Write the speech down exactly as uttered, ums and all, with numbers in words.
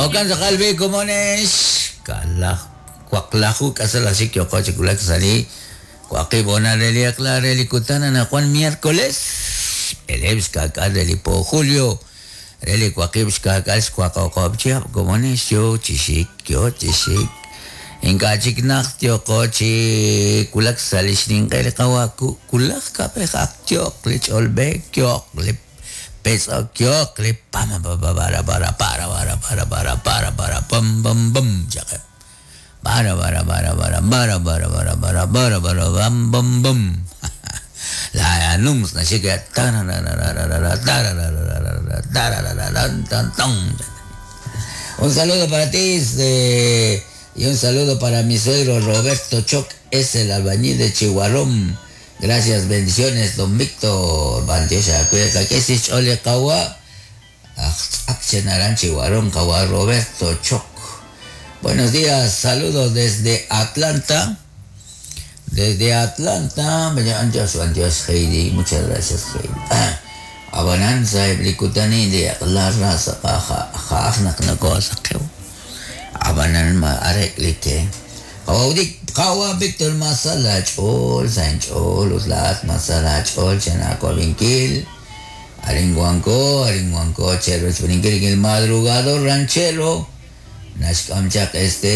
Okan sakal bi komones kalaj waqlaju k'asal axik yoqo chi wulak sa' li waqib' honal re li eq'la re li kutan anaqwan miércoles b'eleeb' xka'k'aal re li po julio re li waqib' xka'k'aal xwaqoqob' chihab' komones yo chi xik yo chi xik ink'a' chik najt yoqo chi wulak sa' li xninq'e li qawa wulaj kab'ej ak yo'q li ch'olb'eek yo'q li petz'ok yo'q li pam pa pa para para para para para para para para pam pam pam chaqeb' para para para para para para para para para para bam bam bam la nums naxik Un saludo para ti este, y un saludo para mi suegro Roberto Choc, es el albañil de Chihuarón. Gracias, bendiciones, don Víctor. Bandiosa, cuídate, que si chole kawa. Akchenaran Chihuarón, kawa Roberto Choc. Buenos días, saludos desde Atlanta. Desde Atlanta, Dios, Dios, Heidi, muchas gracias, Heidi. Abananza, eblikutani, de la raza, jaajnak, no cosa, Abanan, ma, areklike. Qawdik, qawa Víctor Masala, chol, San chol, utlat, Masala, chol, Chenaco, Vinkil, Aringuanco, Aringuanco, Chero, Churinkil, el madrugador ranchero, Nashkamchak, Estéreo.